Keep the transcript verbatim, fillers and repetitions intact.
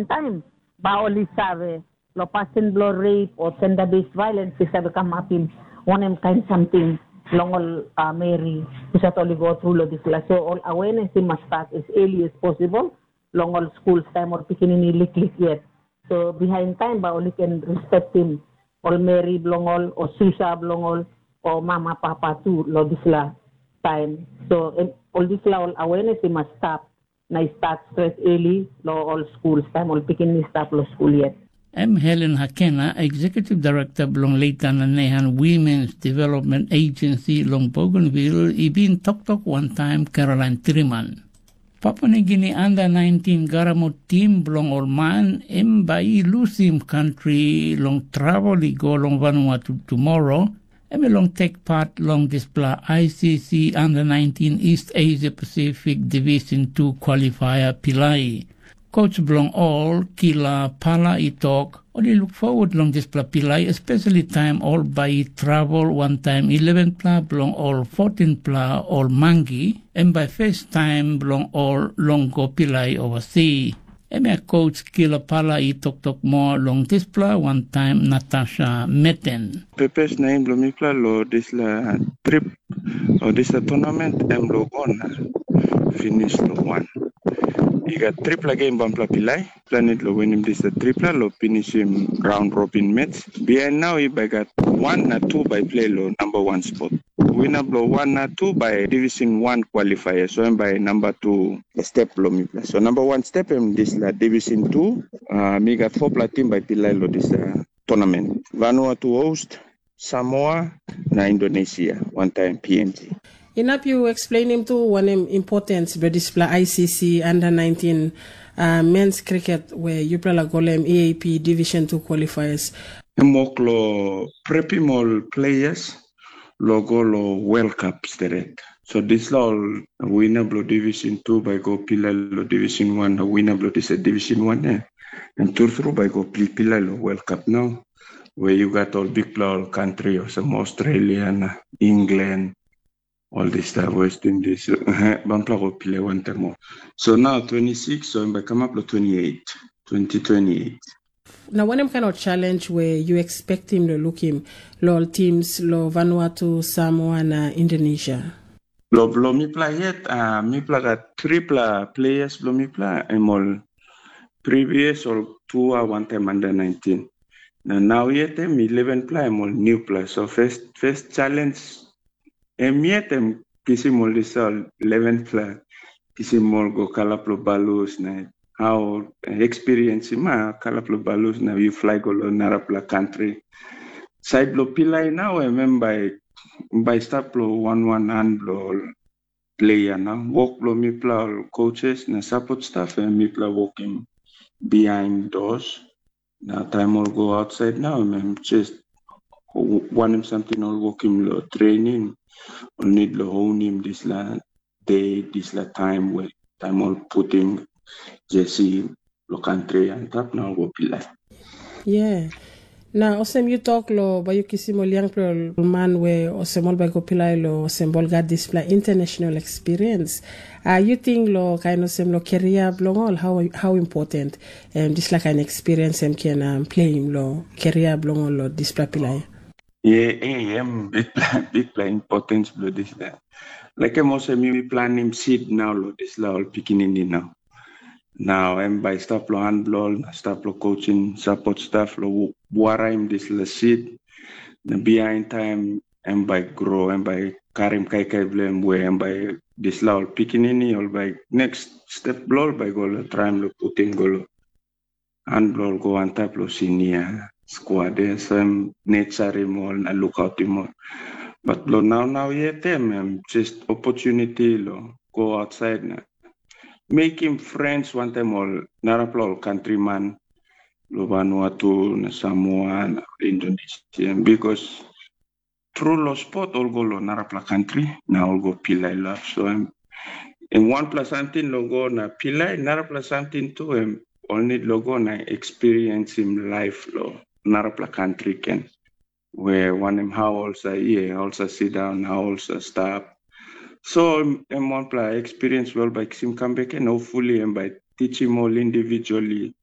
Taim bai ol i save, long pasin bilong rape o gender based violence i save kamapim wanem kain samting long ol uh, meri husat ol i go tru long dispela. So ol awareness i mas start as early as possible long ol schools taim ol pikinini liklik yet. So behind time bai ol i ken respectim ol meri bilong ol o susa bilong ol o mama papa tu long dispela taim. So em, ol dispela ol awareness i mas start na i start stret early long ol schools taim ol pikinini stap long skul yet. Em Helen Hakena, Executive Director bilong Leita na Nehan Women's Development Agency long Bougainville, i bin toktok wantaim Caroline Triman. Papua Nigini under nineteen Garamut tim bilong ol man em bai i lusim kantri long travel i go long Vanuatu tumora, em i long tek pat long dispela I C C under nineteen East Asia Pacific Division two qualifier pilai. Coach bilong ol, Kila Pala, i tok, ol i luk forward long dispela pilai, especially taim ol bai i travel wantaim eleven pela bilong ol fourteen pela ol mangi, em bai first taim bilong ol long go pilai overseas. Em ya coach Kila Pala i toktok moa long dispela wantaim Natasha Meten. Purpose na aim bilong mipela long dispela trip o dispela tournament em long go na finish long wan. I gat tripela game bampela pilai, planit long winim dispela tripela long pinisim raun robin match. Bihain nau i bai gat wan na tu bai play long namba wan spot. Wina bilong wan na tu bai Division wan qualifier, so em bai namba tu step bilong mipela. So namba wan step em dispela Division two, uh, mi gat fopela tim bai pilai long dispela tournament. Vanuatu host, Samoa, na Indonesia, wantaim P N G. Inap yu explainim tu wanem importance bilong dispela I C C under nineteen uh, men's cricket where yupela la golem E A P Division two qualifiers. Em wok lo prepim ol players lo go lo World Cup steret. So dispela ol winner bilong Division two bai go pilai long Division one, na winner bilong dispela Division one, eh, em trutru bai go pilpilai long World Cup nau, where you got all bikpela ol country olsem Australia na England, all this stuff, West Indies, bampela go pilai wantaim ol. So now twenty-six, so em bai kamap long twenty-eight, twenty twenty-eight. Na wanem kind of challenge we you expectim lo lukim lo ol teams lo Vanuatu, Samoa na Indonesia? Lo bilong mipela yet, uh, mipela gat tripela players bilong mipela, em ol previous ol tua wantaim under nineteen. Na nau yet em eleven pela em ol newpela. So first, first challenge em yet em kisim ol dispela eleven pela, kisim ol go kalap lo balus na how experience ma kalap lo balus na you fly go lo narapela country. Side lo pilai nau em em bai bai stap lo wan wan han lo player na wok lo mipela ol coaches na support staff em mipela wokim behind doors. Na taim ol go outside nau em em just wanem samting ol wokim lo training, ol need lo honim dispela de dispela taim we taim ol putim jersey lo country antap na ol go pilai. Yeah. Na olsem yu tok lo bai yu kisim ol yangpela ol man we olsem ol bai go pilai lo olsem ol gat dispela international experience. Uh, yu ting lo kain olsem lo keria bilong ol how, how important um, dispela kain experience em ken um, playim lo keria bilong ol lo dispela pilai? Yeah, eh, em bikpela bikpela importance bilong dispela. Like em olsem yumi planim seed nau lo dispela ol pikinini nau. Nau em bai stap lo han bilong ol na stap lo coaching support staff lo waraim dispela seed. Na bihain taim em bai grow, em bai karim kaikai bilong em we em bai dispela ol pikinini ol bai next step bilong ol bai go lo traim lo putim go lo han bilong ol go antap lo sinia squad, eh, so em necharim ol na lukautim ol. But lo naunau yet em em just opportunity lo go outside na mekim friends wantaim ol narapela ol countryman lo Vanuatu na Samoa na Indonesia, because tru lo sport ol go lo narapela country na ol go pilai lap. So em em wanpela samting lo go na pilai, narapela samting tu em ol need lo go na experienceim life lo narapela country ken, we wanem how ol sa ye, ol sa sit down, how ol sa stap. So em wanpela experience we ol bai kisim kam bek en hopefully em bai teachim ol individually.